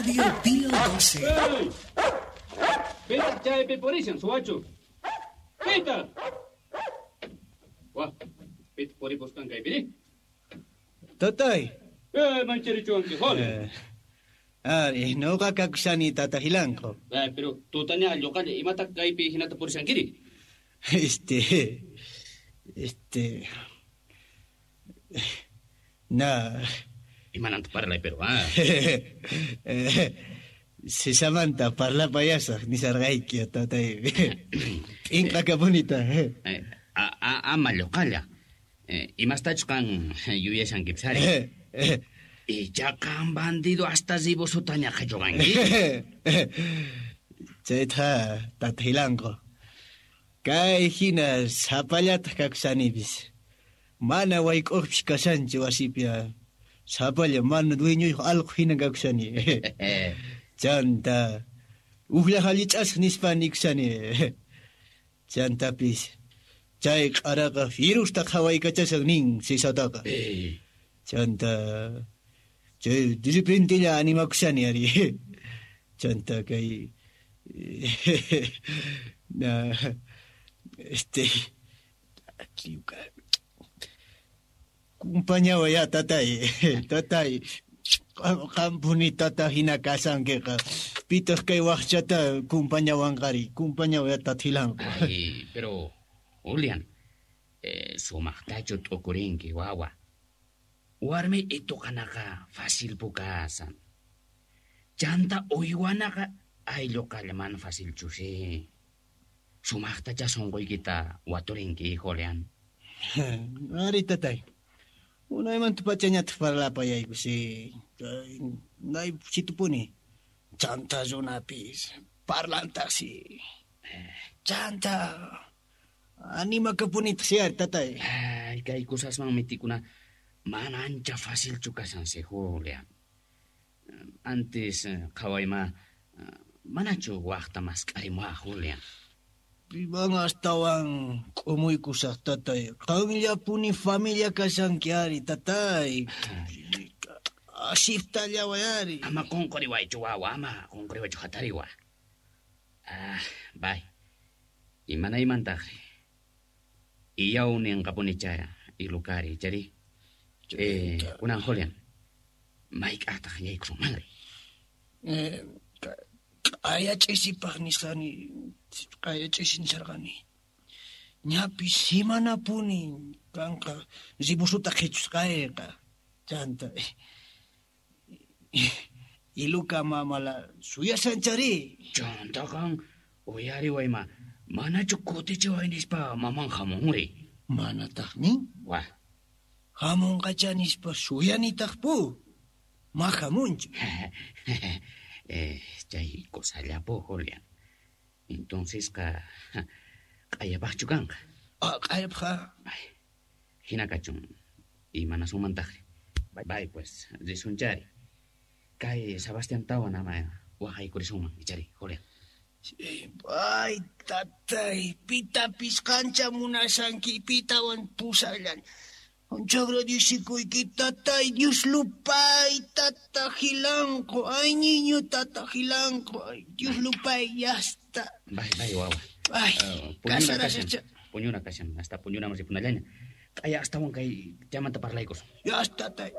Radio Pío 12. Pitaq chaypi purishan, suwachu. Pitaq. Wah, pitaq puripusqan kaypiri? Tatay. Mancharichuwanki, Juan. Ari, noqa kakushani tata Hilanqo. Pero tutaña lluqalla imataq kaypi hinata purishankiri? Na. Imananta parlay, pero ah. Sisamanta parlapayasaq nisarqayki, tatay. P'inqakapunita. Ama lluqalla. Imastachus qan yuyashankipis ari. Icha qan bandido hasta ribosutaña qhichuqanki. Chayta tata Hilanqo. Kay hina sapallataq kakushanipis. Mana wayk'uqpis kashanchu wasipi. Sapalla mana dueñoyuq allqu hina kakushani. Chanta ujlla hallich'asaq nispa nikushani. Chantapis chay q'araqa firusta qhawaykachasaq nin sisataqa. Chanta chay de repentella animakushani ari. Chanta kay na Kumpañaway ya tatay, tatay. Qampuni tata hina kasankiqa. Pitaq kay waqchata kumpañawanqari, kumpañaway tata Hilanqo. Ay, pero Julian, sumaqtachu t'ukurinki wawa. Warmi ituqanaqa fácil pukasan. Chanta uywanaqa aylluqalla mana facilchusi. Sumaqtacha sunquykita waturinki, Julian. Ari tatay. Unaymanta pachañataq parlapayaykusi. Nay situpuni. Chanta runapis parlantaqsi. Chanta animakapunitaq si ari tatay. Ay, kay kusasman mitikuna mana ancha facilchu kashansi, Julian. Antes qhawayma manachu waqta mask'arimuwaq, Julian. Piwan astawan k'umuykusaq tatay. Qanllapuni familia kashanki ari tatay. Asiptallaway ari. Ama qunquriwaychu wawa, ama qunquriwaychu hatariwa. Ah, bay. Imanaymantaqri. Iyaw ninqapuni chaya ilukari chari. Kunan Julian. Mayk'aqtaq yaykusunmanri. Q'aya ch'isipaq nisqani, q'aya ch'isi nisarqani. Ñapis simanapuni kanqa ribusuta qhichusqayqa. Chanta iluka mamala suyasanchari. Chanta qan uyariwayma manachu kutichiway nispa maman hamunri. Manataqmi. Wa. Hamunqacha nispa suyanitaqpu. Ma hamunchu. Chay cosallapu, Julian. Entonces qa q'ayapaqchu kanqa. Ah, q'ayapqa. Ay, hina kachun. Imanasumantaqri. Bay, pues, risunchari. Kay Sebastián tawan ama waqaykurisunman, ichari, Julian. Ay, tatay, pitapis qancha munashanki, pitawan pusallan. Ancha agradecikuyki, tatay, Dios lupay, tata Hilanqo. Ay, niño, tata Hilanqo. Ay, Dios lupay, ya está. Bay, bay, wawa. Ay, puñuna kashan. Puñuna kashan, hasta puñuna mas ipunallaña. Kaya hasta kay chamanta parlaykus. Ya está, tatay.